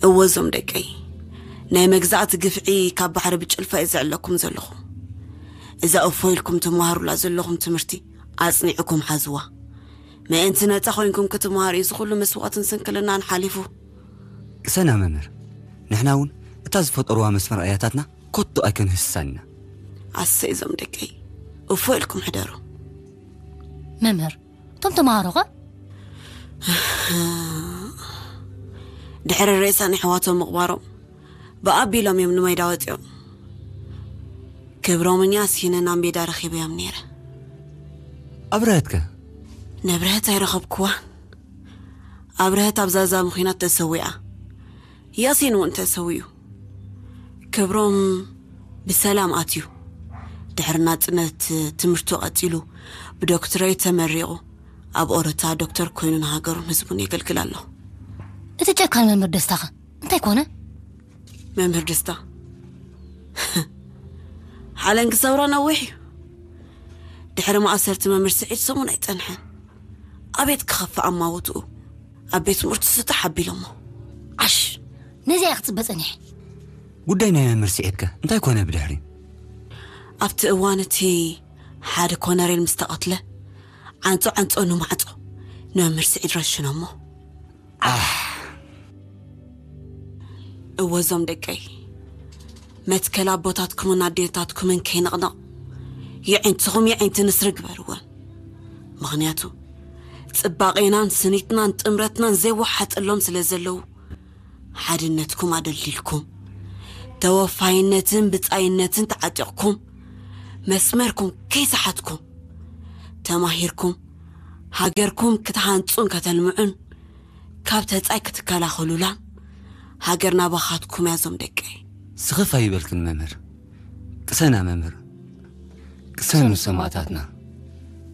እወ፣ እዞም ደቀይ፣ ናይ መግዛእቲ ግፍዒ ካብ ባሕሪ ብጭልፋ እየ ዘዕለኩም ዘለኹ። እዛ እፎ ኢልኩም ትመሃሩላ ዘለኹም ትምህርቲ ኣጽኒዕኩም ሓዝዋ። ምእንቲ ነጻ ኮይንኩም ክትመሃሩ እዩ እዚ ኩሉ መስዋእትን ስንክልናን ሓሊፉ። ቅሰና መምህር፣ ንሕና እውን እታ ዝፈጠርዋ መስመር ኣያታትና ኮቶ ኣይከንህስሳን ኢና። ኣሰይ፣ እዞም ደቀይ፣ እፎ ኢልኩም ሕደሩ። መምህር፣ እቶም ተምሃሮኸ? ድሕሪ ሬሳ ንሕዋቶም ምቕባሮም ብኣቢሎም እዮም ንሜዳ ወፂኦም። ክብሮምኛ ሲነ ናብ ሜዳ ረኺበዮም ነይረ። ኣብረሀትከ? ንብረህት ኣይረኸብኩዋ። ኣብረህት ኣብ ዛዛሚ ኹናት ተሰዊኣ። ያሲን እውን ተሰዊኡ። ክብሮም ብሰላም ኣትዩ። ድሕሪ ናጽነት ትምህርቱ ቀጺሉ ብዶክትሬት ተመሪቑ ኣብ ኦሮታ ዶክተር ኮይኑ ንሃገሩን ህዝቡን የገልግል ኣሎ። እቲ ጨካን መምህር ደስታኸ እንታይ ኮነ? መምህር ደስታ ሓለንጊ ሰውራ ነዊሕ እዩ። ድሕሪ ማእሰርቲ መምህር ስዒድ ሰሙን ኣይጸንሐን። ኣቤት ክኸፍእ ኣማውትኡ ኣብ ቤት ትምህርቲ ስጥሕ ኣቢሎሞ። ዓሽ፣ ነዚኣ ክጽበ ጸኒሐ። ጉዳይ ናይ መምህር ስዒድከ እንታይ ኮነ ብድሕሪ? ኣብቲ እዋን እቲ ሓደ ኮነሬል ምስ ተቐትለ ዓንጾ ዓንጾ ንማዕጾ ንመምህር ስዒድ ረሽኖሞ። እወ እዞም ደቀይ፣ መትከል ኣቦታትኩምን ኣዴታትኩምን ከይንቕነቕ የዒንትኹም የዒንቲ ንስሪ ግበርወን። ምኽንያቱ ጽባቄናን ስኒትናን ጥምረትናን ዘይወሓጠሎም ስለ ዘለዉ ሓድነትኩም ኣደልዲልኩም ተወፋይነትን ብጻይነትን ተዓጢቕኩም መስመርኩም ከይሰሓትኩም ተማሂርኩም ሃገርኩም ክትሃንጹን ከተልምዑን ካብ ተጻይ ክትከላኸሉላን ሃገር ናባኻትኩም እያ እዞም ደቀይ። ስኽፍ ኣይበልክን መምህር። ቅሰና መምህር። ቅሰኑ ሰማእታትና።